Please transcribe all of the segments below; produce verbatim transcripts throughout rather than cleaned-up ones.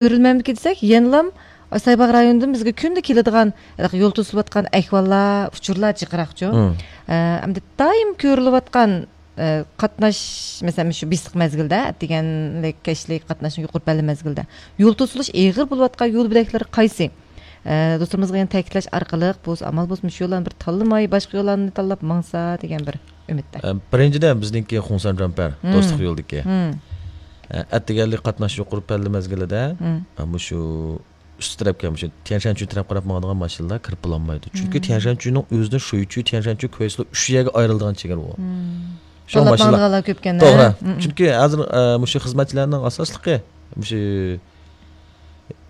كۆرۈلمەمدىكى دېسەك، يەنىلام سايباغ رايونىدىن بىزگە كۈندە كېلىدىغان، ھېلىقى يول توسۇلۇۋاتقان ئەھۋاللار، ئۇچۇرلار جىقراقچۇ. مم. ئە، ئەمدى دائىم كۆرۈلۈۋاتقان، ئە، قاتناش، مەسىلەن، شۇ بېسىق مەزگىلدە، ئەتىگەنلىك، كەچلىك قاتناشنىڭ يۇقىرى پەللە مەزگىلدە يول توسۇلۇش ئېغىر بولۇۋاتقان يول بۆلەكلىرى قايسى؟ ئە، دوستلىرىمىزغا يەنە تەكىتلەش ئارقىلىق، بولسا ئامال بولسا مۇشۇ يوللارنى بىر تاللىماي، باشقا يوللارنى تاللاپ ماڭسا دېگەن بىر ئۈمىدتە. ئە، بىرىنچىدىن، بىزنىڭكى خۇڭسەن جامپەر، مم. دوستلۇق يولىدىكى. مم. ئە، ئەتىگەنلىك قاتناش يۇقىرى پەللە مەزگىلىدە، مم. ئە، مۇشۇ ئۈستى تەرەپكە، مۇشۇ تيەنشانچۈن تەرەپ قاراپ ماڭىدىغان ماشىنىلار كىرىپ بولالمايدۇ. چۈنكى مم. تيەنشانچۈننىڭ ئۆزىدىن شۇيچۈ، تيەنشانچۈن، كۇيسىلو ئۈچ يەرگە ئايرىلىدىغان چېگرا ئۇ. مم. شۇڭا تاللاپ ماشىنىلار ماڭىدىغانلار كۆپكەن، توغرا. ھە؟ مم. چۈنكى ھازىر، ئە، مۇشۇ خىزمەتچىلەرنىڭ ئاساسلىقى مۇشۇ،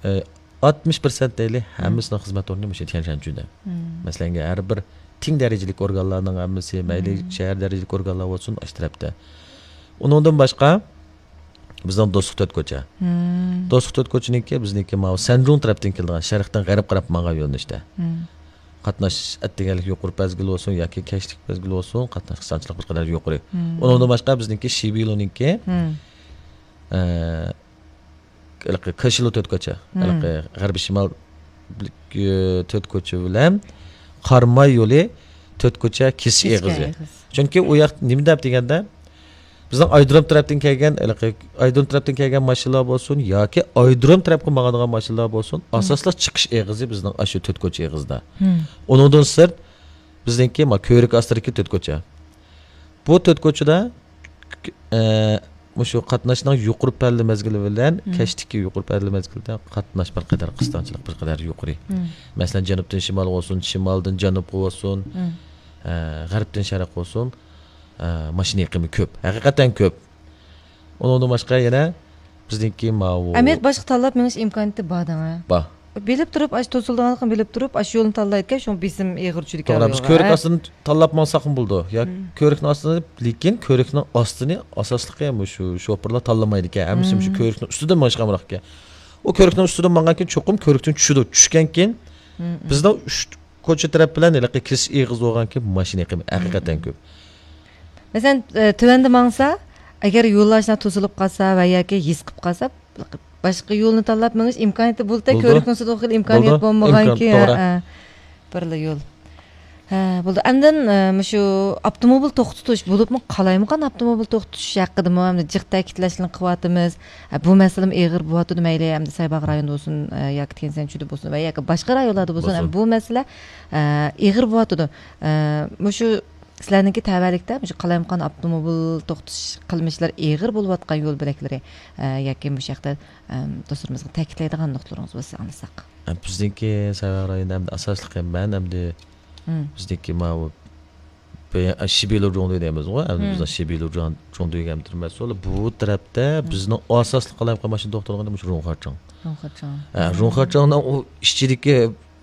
ئە، ئاتمىش پىرسەنت دەيلى، مم. ھەممىسىنىڭ خىزمەت ئورنى مۇشۇ تيەنشانچۈندە. مم. مەسىلەن، ھەر بىر تىڭ دەرىجىلىك ئورگانلارنىڭ ھەممىسى، مەيلى مم. شەھەر دەرىجىلىك ئورگانلار بولسۇن، ئاشۇ تەرەپتە. ئۇنىڭدىن باشقا، بىزنىڭ دوستلۇق تۆت كوچا. مم. دوستلۇق تۆت كوچىنىڭكى بىزنىڭكى ماۋۇ سەنجۇڭ تەرەپتىن كېلىدىغان، شەرقتىن غەرب قاراپ ماڭغان يۆنىلىشتە. مم. قاتناش ئەتىگەنلىك يۇقىرى مەزگىل بولسۇن ياكى كەچلىك مەزگىل بولسۇن، قاتناش قىستاڭچىلىق بىر قەدەر يۇقىرى. مم. ئۇنىڭدىن باشقا بىزنىڭكى شىبىلونىڭكى، مم. ئە، ھېلىقى كاشىلو تۆت كوچا، مم. ھېلىقى غەربىي شىمال، ئە، تۆت كوچا بىلەن قاراماي يولى تۆت كوچا كېسىش كېسىش ئېغىزى. ئېغىز. چۈنكى ئۇ ياق نېمە دەپ دېگەندە، بىزنىڭ ئايرودروم تەرەپتىن كەلگەن، ھېلىقى ئايرودروم تەرەپتىن كەلگەن ماشىنىلار بولسۇن ياكى ئايرودروم تەرەپكە ماڭىدىغان ماشىنىلار بولسۇن، مم. ئاساسلىق چىقىش ئېغىزى بىزنىڭ ئاشۇ تۆت كوچا ئېغىزىدا. مم. ئۇنىڭدىن سىرت، بىزنىڭكى ما كۆۋرۈك ئاستىدىكى تۆت كوچا. بۇ تۆت كوچىدا، ئە، مۇشۇ قاتناشنىڭ يۇقىرى پەللە مەزگىلى بىلەن مم. كەچتىكى يۇقىرى پەللە مەزگىلىدە قاتناش بىر قەدەر قىستاڭچىلىق بىر قەدەر يۇقىرى. مم. مەسىلەن، جەنۇبتىن شىمال بولسۇن، شىمالدىن جەنۇبقا بولسۇن، مم. ئە، غەربتىن شەرققە بولسۇن، ئە، ماشىنا ئېقىمى كۆپ. ھەقىقەتەن كۆپ. ئۇنىڭدىن باشقا يەنە بىزنىڭكى ماۋۇ ئەمەلىيەت باشقا تاللاپ مېڭىش ئىمكانىيىتى بار دەڭە. بار. بىلىپ تۇرۇپ، ئاشۇ توسۇلىدىغانلىقىنى بىلىپ تۇرۇپ، ئاشۇ يولنى تاللايدىكەن، شۇڭا بېسىم ئېغىر چۈشىدىكەن توغرا، بىز يولغا، كۆۋرۈك ھە؟ ئاستىدىن تاللاپ ماڭساقمۇ بولىدۇ. يا مم. كۆۋرۈكنىڭ ئاستىدا، لېكىن كۆۋرۈكنىڭ ئاستىنى ئاساسلىقى مۇشۇ شوپۇرلار تاللىمايدىكەن. ھەممىسى مۇشۇ مم. كۆۋرۈكنىڭ ئۈستىدىن مېڭىشقا ئامراقكەن. ئۇ كۆۋرۈكنىڭ ئۈستىدىن ماڭغانكېيىن چوقۇم كۆۋرۈكتىن چۈشىدۇ. چۈشكەنكېيىن مم، مم. بىزنىڭ ئۈچ كوچا تەرەپ بىلەن ھېلىقى كېسىش ئېغىز بولغانكېيىن ماشىنا ئېقىمى ھەقىقەتەن كۆپ. مەسىلەن، ئە، تۆۋەندە ماڭسا، ئەگەر يوللار شۇنداق توسۇلۇپ قالسا ۋە ياكى ھېس قىلىپ قالسا، باشقا يولنى تاللاپ مېڭىش ئىمكانىيىتى بولىدۇ، بولىدۇ. كۆۋرۈكنىڭ ئۈستىدە ئوخۇيلا ئىمكانىيەت بولىدۇ. بولمىغانكى، ئىمكان، توغرا. ھە، ھە. بىرلا يول. ھە، بولدى. ئاندىن، ئە، مۇشۇ ئاپتوموبىل توختىتىش، بولۇپمۇ قالايمىقان ئاپتوموبىل توختىتىش ھەققىدىمۇ ئەمدى جىق تەكىتلەشنى قىلىۋاتىمىز. ئە، بۇ مەسىلىمۇ ئېغىر بولۇۋاتىدۇ، مەيلى ئەمدى سايباغ رايونىدا بولسۇن، ئە، ياكى تيەنشەنچۈدە بولسۇن ۋە ياكى باشقا رايونلاردا بولسۇن، بولسۇن. ئەمدى بۇ مەسىلە، ئە، ئېغىر بولۇۋاتىدۇ. ئە، مۇشۇ سىلەرنىڭكى تەۋەلىكتە مۇشۇ قالايمىقان ئاپتوموبىل توختىتىش قىلمىشلىرى ئېغىر بولۇۋاتقان يول بۆلەكلىرى، ئە، ياكى مۇشۇ ھەقتە، ئەم، دوستلىرىمىزغا تەكىتلەيدىغان نۇقتىلىرىڭىز بولسا ئاڭلىساق. ئە، بىزنىڭكى سايباغ رايونىدا ئەمدى ئاساسلىقى مەن ئەمدى مم. بىزنىڭكى ماۋۇ بې-، ئە، شىبىلۇ جۇڭدۇ دەيمىزغۇ، ئەمدى مم. بىزنىڭ شىبىلۇ جۇڭ-، جۇڭدۇ دېگەن مەسئۇل. بۇ تەرەپتە مم. بىزنىڭ ئاساسلىق قالايمىقان ماشىنا توختىغىنى مۇشۇ رۇڭخېچاڭ. رۇڭخېچاڭ. ئە، مم. رۇڭخېچاڭنىڭ ئۇ ئىچىدىكى،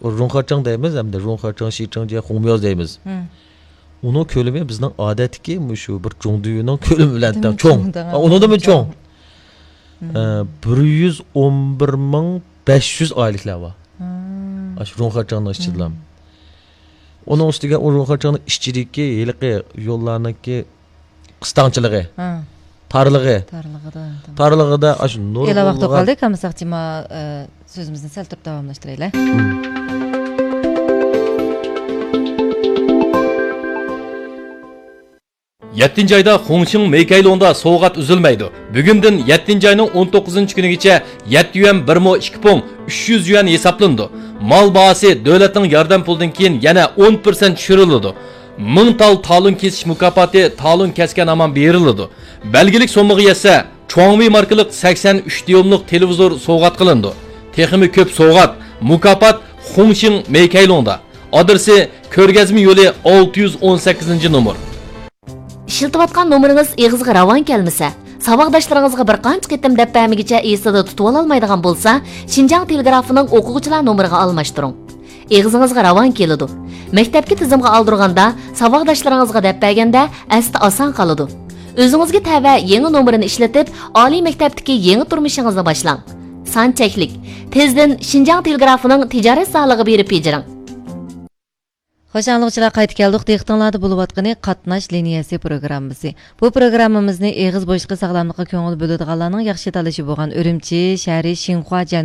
رۇڭخېچاڭ دەيمىز، ئەمدى رۇڭخېچاڭ، شىچاڭجيې، خۇڭمياۋ دەيمىز. مم. ئۇنىڭ كۆلىمى بىزنىڭ ئادەتتىكى مۇشۇ بىر جۇڭدۇينىڭ كۆلىمى بىلەن تەڭ، چوڭ. چوڭ دەڭ، ئۇنىڭدىنمۇ چوڭ. چوڭ. مم. ئە، بىر يۈز ئون بىر مىڭ بەش يۈز ئائىلىلەر بار. مم. ئاشۇ رۇڭخېچاڭنىڭ ئىچىدىلا. مم. ئۇنىڭ ئۈستىگە ئۇ رۇڭخېچاڭنىڭ ئىچىدىكى ھېلىقى يوللارنىڭكى قىستاڭچىلىقى، ھە. تارلىقى. تارلىقىدا، تارلىقىدا ئاشۇ نۇرغۇنلىغان ۋاقىت قالدى، قالمىساقچى، ما، ئە، سۆزىمىزنى سەل تۇرۇپ داۋاملاشتۇرايلى. مم. يەتتىنچى ئايدا خۇڭشىڭ مېيكەيلۇڭدا سوۋغات ئۈزۈلمەيدۇ. بۈگۈندىن يەتتىنچى ئاينىڭ ئون توققۇزىنچى كۈنىگىچە يەتتە يۈەن بىر مو ئىككى پۇڭ، ئۈچ يۈز يۈەن ھېسابلىنىدۇ. مال باھاسى دۆلەتنىڭ ياردەم پۇلىدىن كېيىن يەنە ئون پىرسەنت چۈشۈرۈلىدۇ. مىڭ تال تالون كېسىش مۇكاپاتى تالون كەسكەن ھامان بېرىلىدۇ. بەلگىلىك سوممىغا يەتسە، چۇاڭۋېي ماركىلىق سەكسەن ئۈچ دىيۇملۇق تېلېۋىزور سوۋغات قىلىنىدۇ. تېخىمۇ كۆپ سوۋغات، مۇكاپات خۇڭشىڭ مېيكەيلۇڭدا. ئادرېسى: كۆرگەزمە يولى، ئالتە يۈز ئون سەككىزىنچى نومۇر. ئىشلىتىۋاتقان نومۇرىڭىز ئېغىزغا راۋان كەلمىسە، ساۋاقداشلىرىڭىزغا بىر قانچە قېتىم دەپ بەرمىگىچە ئېسىدە تۇتۇۋالالمايدىغان بولسا، شىنجاڭ تېلېگرافىنىڭ ئوقۇغۇچىلار نومۇرىغا ئالماشتۇرۇڭ. ئېغىزىڭىزغا راۋان كېلىدۇ. مەكتەپكە تىزىمغا ئالدۇرغاندا، ساۋاقداشلىرىڭىزغا دەپ بەرگەندە ئەستە ئاسان قالىدۇ. ئۆزىڭىزگە تەۋە يېڭى نومۇرىنى ئىشلىتىپ، ئالىي مەكتەپتىكى يېڭى تۇرمۇشىڭىزنى باشلاڭ. سان چەكلىك. تېزدىن شىنجاڭ تېلېگرافىنىڭ تىجارەت زالىغا بېرىپ بېجىرىڭ. خوش ئاڭلىغۇچىلار، قايتا كەلدۇق. دىققىتىڭلاردا بولۇۋاتقىنى قاتناش لىنىيەسى پروگراممىسى. بۇ پروگراممىمىزنى ئېغىز بوشلۇقى ساغلاملىققا كۆڭۈل بۆلىدىغانلارنىڭ ياخشى تاللىشى بولغان ئۈرۈمچى شەھىرى شىنخۇا جەن